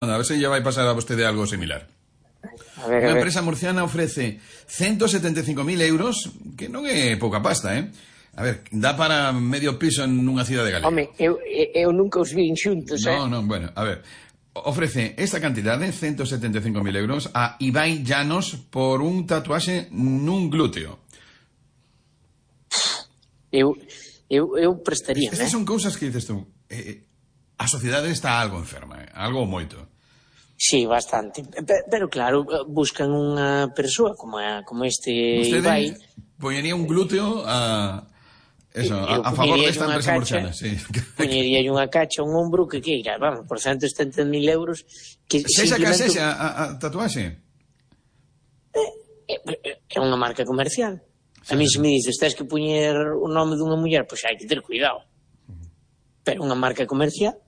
A ver se lle vai pasar a vostede algo similar. Unha empresa murciana ofrece 175.000 euros, que non é pouca pasta, A ver, dá para medio piso en unha cidade galega. Home, eu nunca os vin xuntos, Non, bueno, a ver. Ofrece esta cantidade, 175.000 euros, a Ibai Llanos por un tatuaxe nun glúteo. Eu prestaría, Estas son cousas que dices tú. A sociedade está algo enferma, algo moito. Sí, bastante. Pero claro, buscan unha persoa como este Ibai. Poñería un glúteo a favor desta empresa murciana, sí. Poñería unha cacha, un ombro que queira, vamos, por 170.000 euros que simplemente... a tatuaxe? É unha marca comercial. A mí se me dices, tens que poñer o nome dunha muller, pois hai que ter cuidado. Pero unha marca comercial,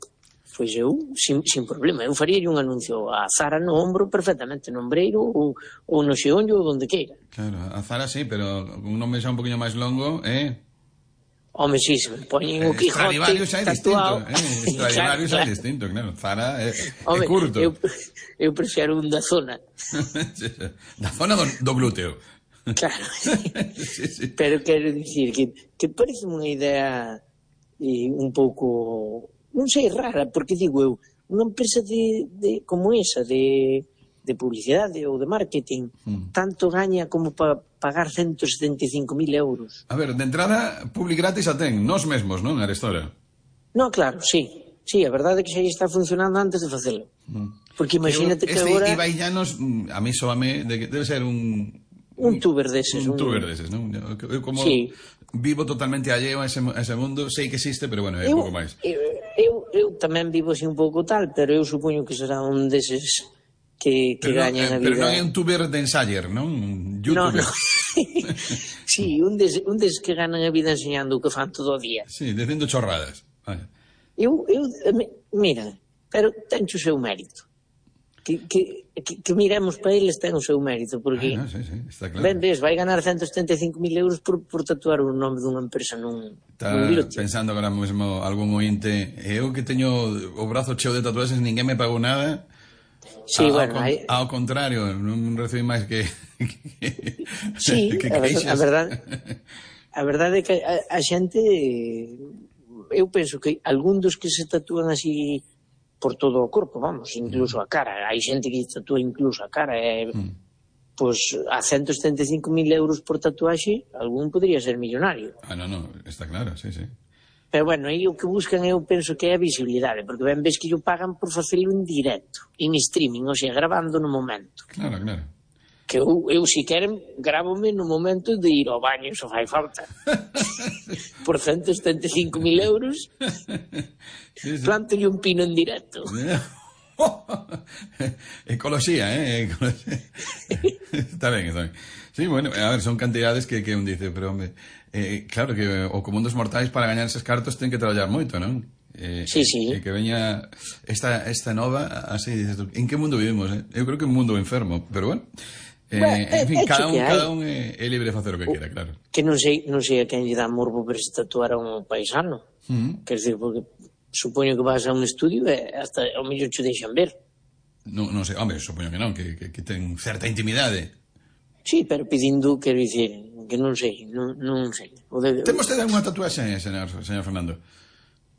pois eu, sin problema, eu faría un anuncio a Zara no ombro perfectamente, no ombreiro ou no xeonllo ou donde queira. Claro, a Zara sí, pero un nome xa un poquinho máis longo, Home, si, se me poñen o Quijote tatuado... Stradivarius é distinto, claro. Zara é curto. Eu prefiro un da zona. Da zona do glúteo. Claro. Sí. Pero quero dicir que parece unha idea un pouco, non sei, rara, porque digo eu, unha empresa como esa, de publicidade ou de marketing, tanto gaña como para pagar 175.000 euros. A ver, de entrada, publi gratis a ten, nós mesmos, non, Arestora? Non, claro, sí. Sí, a verdade é que xa está funcionando antes de facelo. Porque imagínate que agora... Este Ibai Llanos, a mí soame, debe ser un tuber deses. Un tuber deses, non? Eu como vivo totalmente alleo a ese mundo, sei que existe, pero bueno, é un pouco máis. Eu tamén vivo así un pouco tal, pero eu supoño que será un deses que gañan a vida. Pero non é un tuber de ensayer, non? Un youtuber. No. Sí, un deses que ganan a vida enseñando o que fan todo o día. Sí, dicindo chorradas. Mira, pero ten o seu mérito. Que miremos para eles ten o seu mérito, porque está claro. Ben ves, vai ganar 175.000 euros por tatuar o nome dunha empresa nun glúteo. Está pensando agora mesmo algún ointe, eu que teño o brazo cheo de tatuaxes, ninguén me pagou nada. Sí, bueno, ao contrario, non recibí máis que sí, a verdade é que a xente, eu penso que algún dos que se tatúan así por todo o corpo, vamos, incluso a cara, hai xente que tatúa incluso a cara, pois a 175.000 euros por tatuaxe, algún podría ser millonario. Non, está claro, sí. Pero bueno, aí o que buscan eu penso que é a visibilidade, porque ben ves que yo pagan por facelo en directo, en streaming, ou sea, grabando no momento. Claro. Que eu si queren, gravome no momento de ir ao baño, só fai falta. Por 175.000 euros, planto-lhe un pino en directo. Ecoloxía, Está ben. Sí, bueno, a ver, son cantidades que un dice, pero, hombre, claro que o común dos mortais para gañar eses cartos ten que traballar moito, non? Sí. Que veña esta nova, así dices tú, en que mundo vivimos, Eu creo que un mundo enfermo, pero bueno, en fin, cada un é libre de facer o que quera, claro. Que non sei a quen lle dá morbo ver se tatuar a un paisano. Quer dizer, porque supoño que vas a un estudio e hasta ao mellor che deixan ver. Non sei, home, supoño que non, que ten certa intimidade. Sí, pero pedindo, quero dicir, que non sei. Ten vostede unha tatuaxe, señor Fernando?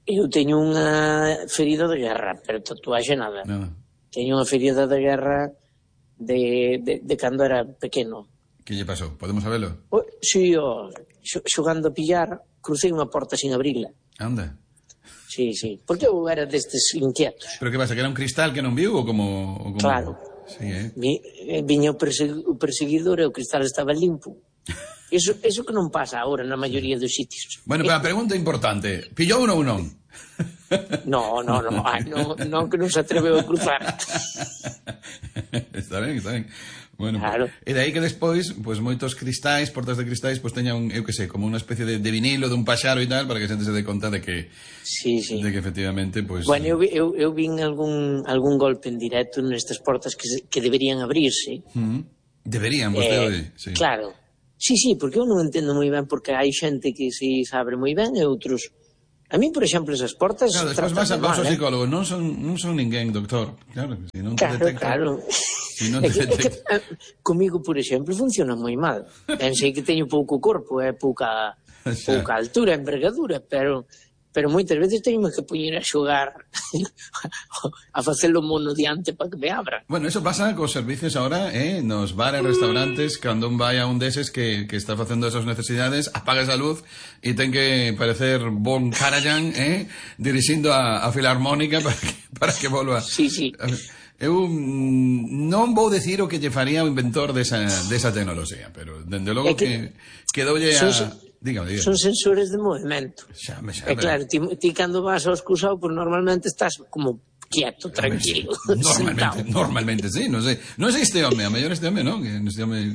Eu teño unha ferida de guerra, pero tatuaxe nada. Teño unha ferida de guerra de cando era pequeno. Que lle pasou? Podemos sabelo? Si, xogando a pillar, crucei unha porta sin abrila. Anda. Sí, porque eu era destes inquietos. Pero que pasa, que era un cristal que non viu ou como... Claro. Sí, Viña o perseguidor e o cristal estaba limpo. Eso que non pasa agora na maioría dos sitios. Bueno, pero a pregunta importante, pillou ou non? Non, que non se atreveu a cruzar. Está ben. Bueno, claro. E de aí que despois, pois moitos cristais, portas de cristais, pois teñan, eu que sei, como unha especie de vinilo, de un paxaro e tal, para que a xente se dé conta de que de que efectivamente, pois... Bueno, eu vin algún golpe en directo nestas portas que deberían abrirse. Deberían, vostede, sí. Claro. Sí, porque eu non entendo moi ben porque hai xente que se abre moi ben e outros A mí, por exemplo, esas portas... Claro, despois vas ao psicólogo, non son ninguén, doctor. Claro, se non te detecta... Claro. Si non te detecta... Comigo, por exemplo, funciona moi mal. Pensei que teño pouco corpo, pouca altura, envergadura, pero moitas veces teño que poñer a xogar a facelo mono diante para que me abra. Bueno, eso pasa cos servicios ahora, nos bares, restaurantes, cando un vai a un deses que está facendo esas necesidades, apaga esa luz e ten que parecer Von Karajan, dirixindo a filarmónica para que volva. Sí. Eu non vou decir o que lle faría o inventor desa tecnoloxía, pero dende logo que doulle a... Dígame. Son sensores de movimento. Xame. Claro, ti cando vas ao excusado, pues normalmente estás como quieto, tranquilo. Normalmente, sí, non sei este home, a mellor este home, non? Que este home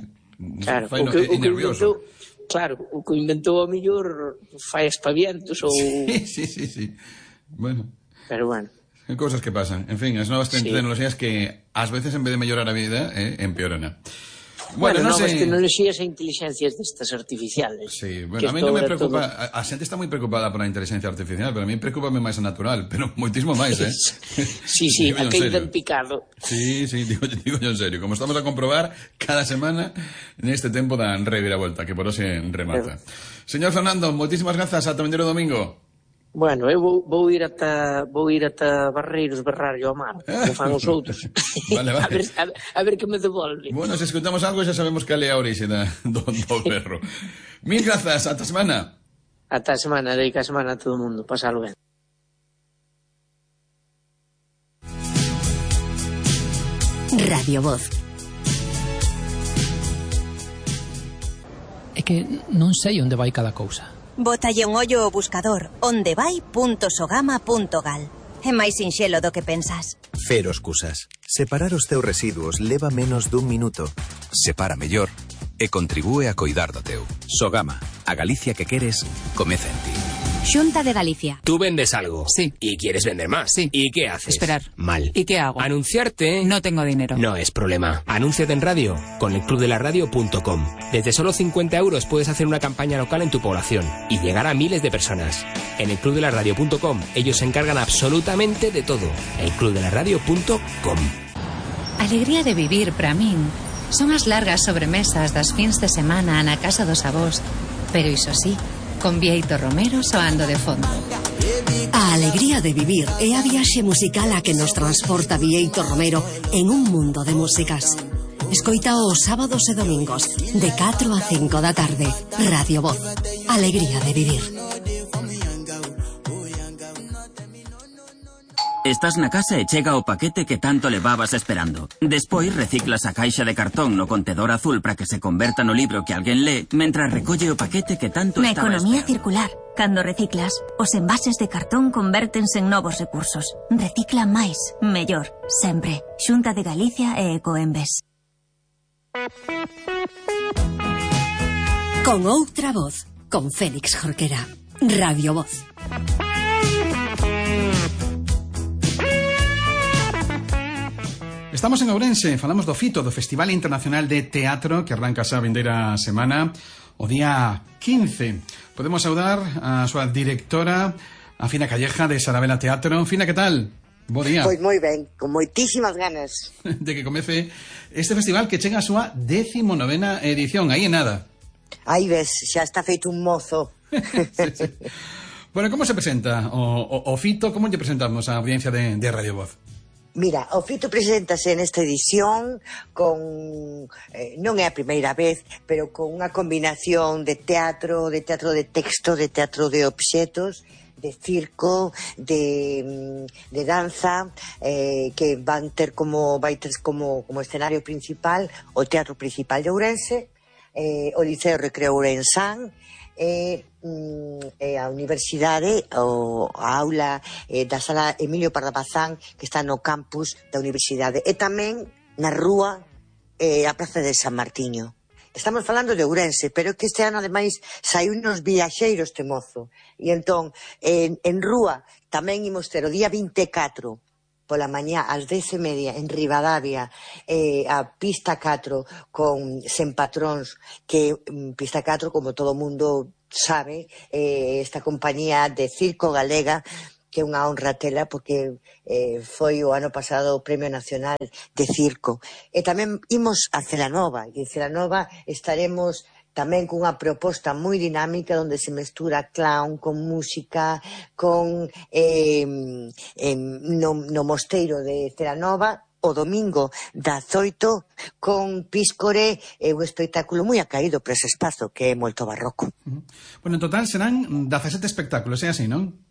fai nervioso. Claro, o que inventou a mellor fai aspavientos ou... Sí. Bueno. Pero bueno. Cousas que pasan. En fin, as novas tecnoloxías que ás veces en vez de mellorar a vida, empeoran. Bueno, novas tecnoloxías e inteligencias destas artificiales. Sí, bueno, a mí non me preocupa, a xente está moi preocupada por a inteligencia artificial, pero a mí preocupame máis a natural, pero moitísimo máis, Sí, a que ten picado. Sí, digo yo en serio, como estamos a comprobar cada semana neste tempo da reviravolta, que por hoxe remata. Señor Fernando, moitísimas grazas, ata o domingo. Bueno, eu vou ir ata Barreiros berrarlle ao mar, como fan os outros. Vale. A ver que me devolve. Bueno, se escutamos algo xa sabemos que é a orixe do berro. Mil grazas, ata semana. Ata semana, dedica a semana a todo o mundo, pasalo ben. Radio Voz. É que non sei onde vai cada cousa. Bótalle un ollo ao buscador ondevai.sogama.gal. É máis sinxelo do que pensas. Cero excusas. Separar os teus residuos leva menos dun minuto. Separa mellor e contribúe a coidar do teu. Sogama, a Galicia que queres, comeza en ti. Xunta de Galicia. Tú vendes algo. Sí. Y quieres vender más. Sí. ¿Y qué haces? Esperar. Mal. ¿Y qué hago? Anunciarte. No tengo dinero. No es problema. Anúnciate en radio con elclubdelaradio.com. Desde solo 50 euros puedes hacer una campaña local en tu población y llegar a miles de personas. En elclubdelaradio.com ellos se encargan absolutamente de todo. elclubdelaradio.com. Alegría de vivir, para min, son as largas sobremesas das fins de semana na casa dos avós. Pero iso sí, con Bieito Romero soando de fondo. A alegría de vivir é a viaxe musical a que nos transporta Bieito Romero en un mundo de músicas. Escoita os sábados e domingos de 4 a 5 da tarde. Radio Voz. Alegría de vivir. Estás na casa e chega o paquete que tanto levabas esperando. Despois reciclas a caixa de cartón no contedor azul para que se converta no libro que alguén lee, mentras recolle o paquete que tanto Na estaba economía esperando. circular, cando reciclas, os envases de cartón convértense en novos recursos. Recicla máis, mellor, sempre. Xunta de Galicia e Ecoembes. Con outra voz, con Félix Jorquera. Radio Voz. Estamos en Ourense, falamos do FITO, do Festival Internacional de Teatro, que arranca esa vindeira semana, o día 15. Podemos saudar a súa directora, a Fina Calleja, de Sarabela Teatro. Fina, que tal? Bo día. Pois moi ben, con moitísimas ganas de que comece este festival que chega a súa 19ª edición, aí en nada. Aí ves, xa está feito un mozo. Sí. Bueno, como se presenta o FITO? Como lle presentamos a audiencia de Radio Voz? Mira, o FITO preséntase nesta edición con, non é a primeira vez, pero con unha combinación de teatro de texto, de teatro de obxetos, de circo, de danza, que vai ter como escenario principal o Teatro Principal de Ourense, o Liceo Recreo Ourensán, a universidade, a aula da sala Emilio Pardapazán, que está no campus da universidade, e tamén na rúa a Praza de San Martiño. Estamos falando de Ourense, pero que este ano ademais saiu nos viaxeiros este mozo, e entón en rúa tamén imos ter o día 24 pola mañá ás 10:30 en Ribadavia, a pista 4 con Sen Patróns, que pista 4, como todo mundo sabe, esta compañía de circo galega, que é unha honra tela porque foi o ano pasado o Premio Nacional de Circo. E tamén imos a Celanova, e en Celanova estaremos tamén cunha proposta moi dinámica onde se mestura clown con música, con no mosteiro de Celanova, o domingo das 8 con Píscore, un espectáculo moi acaído para ese espazo que é moito barroco. Bueno, en total serán 17 espectáculos, é así, non?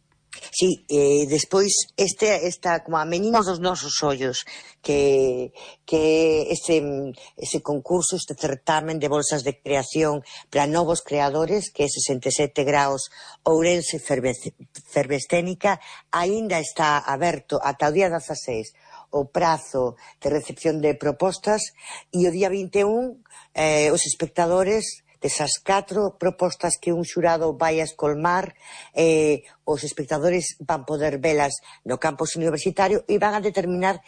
Sí, despois esta como a Meninos dos nosos ollos, que ese concurso, este certamen de bolsas de creación para novos creadores, que é 67 graus Ourense Fervescénica, aínda está aberto ata o día 16 o prazo de recepción de propostas, e o día 21 os espectadores desas 4 propostas que un xurado vai a escolmar, os espectadores van poder velas no campus universitario e van a determinar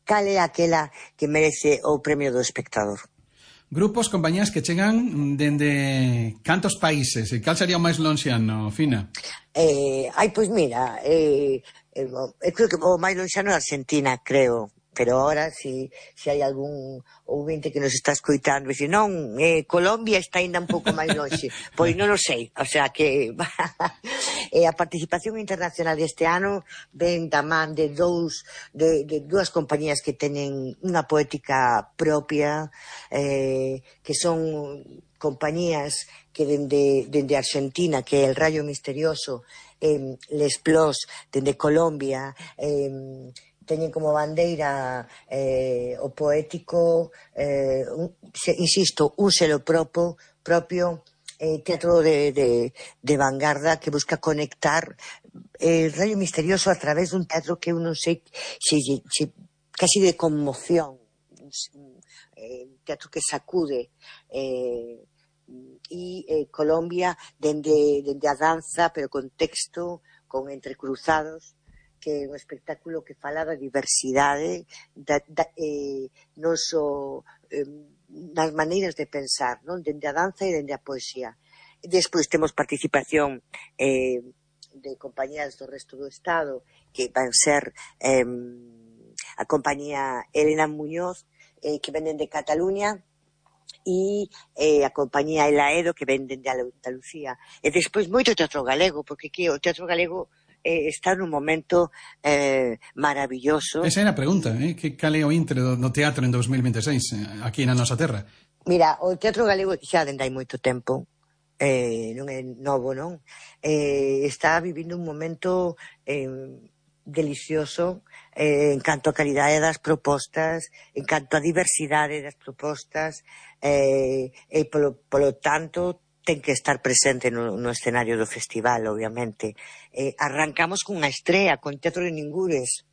cal é aquela que merece o premio do espectador. Grupos, compañías que chegan dende cantos países? E cal sería o máis lonxiano, Fina? Pois mira, creo que o máis lonxano é Argentina, creo. Pero ahora, si hai algún ouvinte que nos está escoitando e dice, non, Colombia está ainda un pouco máis longe, pois non o sei, o sea que a participación internacional deste ano ven da man de dúas compañías que teñen unha poética propia, que son compañías que dende Argentina, que é El Rayo Misterioso, Les Plos, dende Colombia, teñen como bandeira o poético, insisto, un selo propio, teatro de vanguarda que busca conectar El Rayo Misterioso a través dun teatro que eu non sei casi de conmoción, un teatro que sacude, e Colombia dende a danza, pero con texto, con entrecruzados, que é un espectáculo que fala da diversidade, non só nas maneiras de pensar, non, dende a danza e dende a poesía. Despois temos participación de compañías do resto do Estado, que van ser a compañía Elena Muñoz, que venden de Cataluña, e a compañía Elaedo, que venden de Andalucía. E despois moito teatro galego, porque aquí o teatro galego está nun momento maravilloso. Esa é a pregunta, que cal é o intre do teatro en 2026 aquí na nosa terra? Mira, o teatro galego xa dende hai moito tempo, non é novo, non? Está vivindo un momento delicioso en canto a calidade das propostas, en canto a diversidade das propostas, e polo tanto ten que estar presente no escenario do festival, obviamente. Arrancamos cunha estrea, con Teatro de Ningures,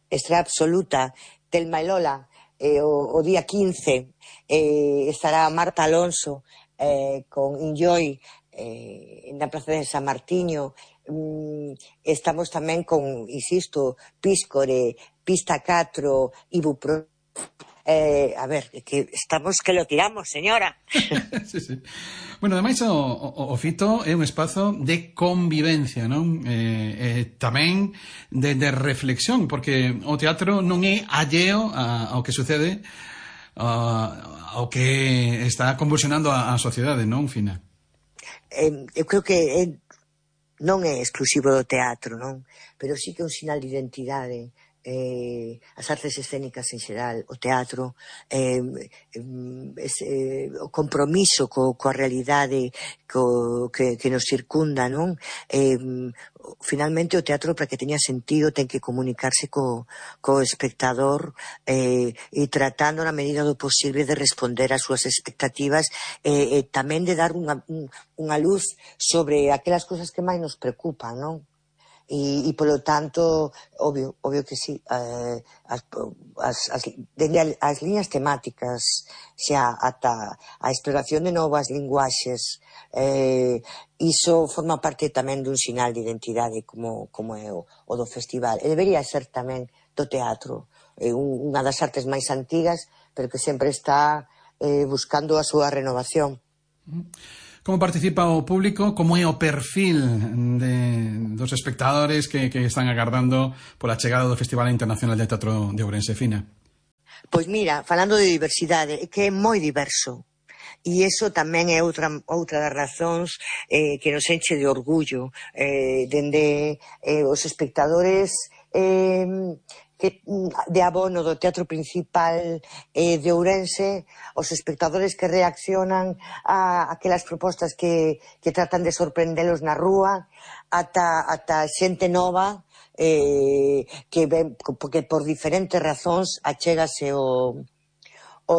estrea absoluta, Telma e Lola, o día 15, estará Marta Alonso con Enjoy na Praza de San Martiño. Estamos tamén con, insisto, Píscore, Pista 4, Ibuprofen. A ver, que estamos que lo tiramos, señora. Sí. Bueno, ademais o Fito é un espazo de convivencia, non? Tamén de reflexión, porque o teatro non é alleo ao que sucede, ao que está convulsionando a sociedade, non, Fina? Eu creo que non é exclusivo do teatro, non? Pero sí que é un sinal de identidade. As artes escénicas en xeral, o teatro, o compromiso coa realidade que nos circunda, non? Finalmente o teatro, para que teña sentido, ten que comunicarse co espectador, e tratando na medida do posible de responder ás súas expectativas, e tamén de dar unha luz sobre aquelas cousas que máis nos preocupan, non? E polo tanto, obvio que sí, as liñas temáticas xa ata a exploración de novas linguaxes, iso forma parte tamén dun sinal de identidade como é o do festival, e debería ser tamén do teatro, unha das artes máis antigas, pero que sempre está buscando a súa renovación. como participa o público, como é o perfil dos espectadores que están agardando pola chegada do Festival Internacional de Teatro de Ourense, Fina? Pois mira, falando de diversidade, é que é moi diverso. E iso tamén é outra das razóns que nos enche de orgullo, dende os espectadores de abono do Teatro Principal de Ourense, os espectadores que reaccionan a aquelas propostas que tratan de sorprendelos na rúa, ata xente nova que por diferentes razóns achégase o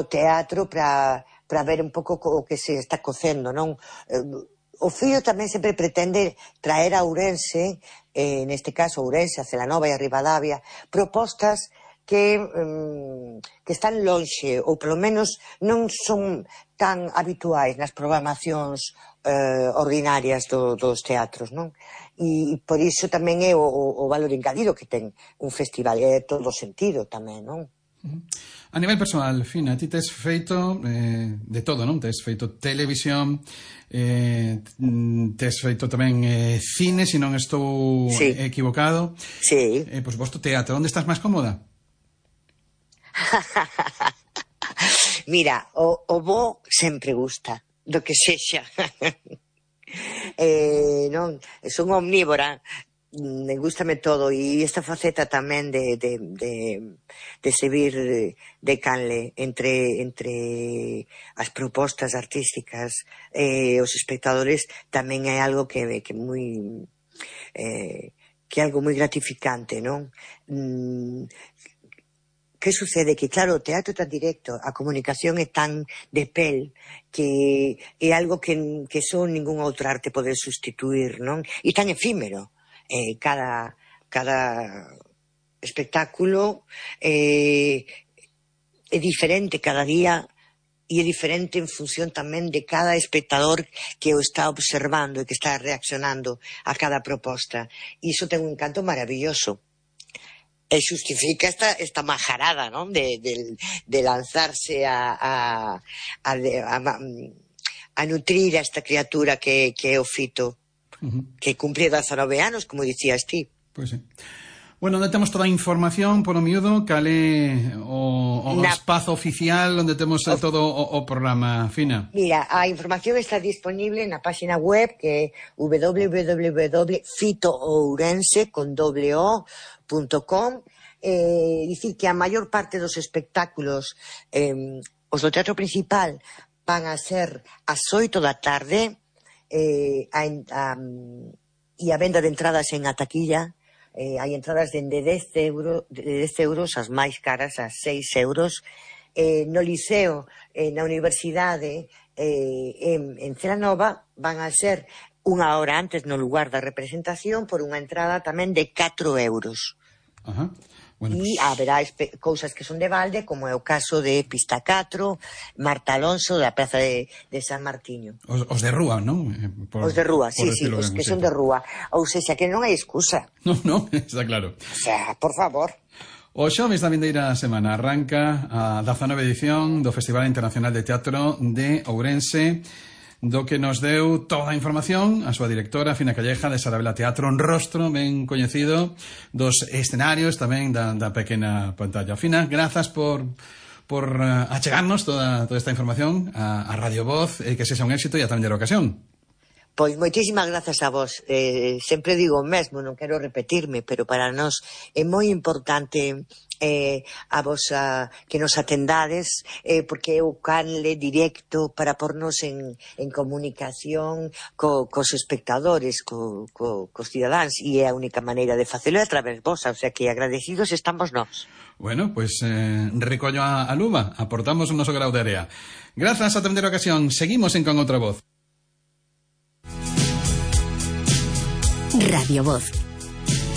teatro para ver un pouco o que se está cocendo, non? O Fío tamén sempre pretende traer a Ourense, neste caso Ourense, a Celanova e a Ribadavia, propostas que están lonxe, ou polo menos non son tan habituais nas programacións ordinarias dos teatros, non? E por iso tamén é o valor engadido que ten un festival, é todo sentido tamén, non? A nivel personal, Fina, ti tes feito de todo, non? Tes feito televisión, tes feito tamén cine, se non estou equivocado. Sí. Por suposto, teatro. Onde estás máis cómoda? Mira, o bo sempre gusta, do que sexa. Non, son omnívora. Gústame todo, e esta faceta tamén de servir de canle entre as propostas artísticas os espectadores tamén é algo que é algo moi gratificante, non? Que sucede? Que claro, o teatro é tan directo, a comunicación é tan de pel, que é algo que só ningún outro arte pode sustituir, non? E tan efímero. Cada espectáculo é diferente cada día, e é diferente en función tamén de cada espectador que o está observando e que está reaccionando a cada proposta. E iso ten un encanto maravilloso. E xustifica esta majarada, non? De lanzarse a nutrir a esta criatura que é o Fito, que cumpre 19 anos, como dicías ti. Pois sí. Bueno, onde temos toda a información por o miúdo, cale o espazo oficial onde temos todo o programa, Fina? Mira, a información está disponible na página web, que é www.fitoourense.com. Dicir que a maior parte dos espectáculos, os do Teatro Principal, van a ser ás 8 da tarde, e a venda de entradas en a taquilla. Hai entradas de 10 euros, as máis caras a 6 euros. No Liceo, na Universidade, en Celanova, van a ser unha hora antes no lugar da representación por unha entrada tamén de 4 euros. Ajá. Bueno, e haberá cousas que son de balde, como é o caso de Pista 4, Marta Alonso, da Praza de San Martiño. Os de rúa, non? Os de rúa, sí, os que son de rúa. Ou seja, que non hai excusa. Non, está claro. O sea, por favor. O xoves da vindeira semana arranca a 19ª edición do Festival Internacional de Teatro de Ourense, do que nos deu toda a información a súa directora, Fina Calleja, de Sarabela Teatro, un rostro ben coñecido dos escenarios, tamén da pequena pantalla. Fina, grazas por achegarnos toda esta información a Radio Voz, que sexa un éxito e a tamén a ocasión. Pois moitísimas grazas a vos. Sempre digo o mesmo, non quero repetirme, pero para nós é moi importante a vos que nos atendades, porque é o canle directo para pornos en comunicación cos espectadores, cos cidadáns, e é a única maneira de facelo a través vos, o sea que agradecidos estamos nós. Bueno, pues recollo a luva, aportamos o noso grau de area. Grazas a tamén a ocasión, seguimos en Con Outra Voz. Radio Voz.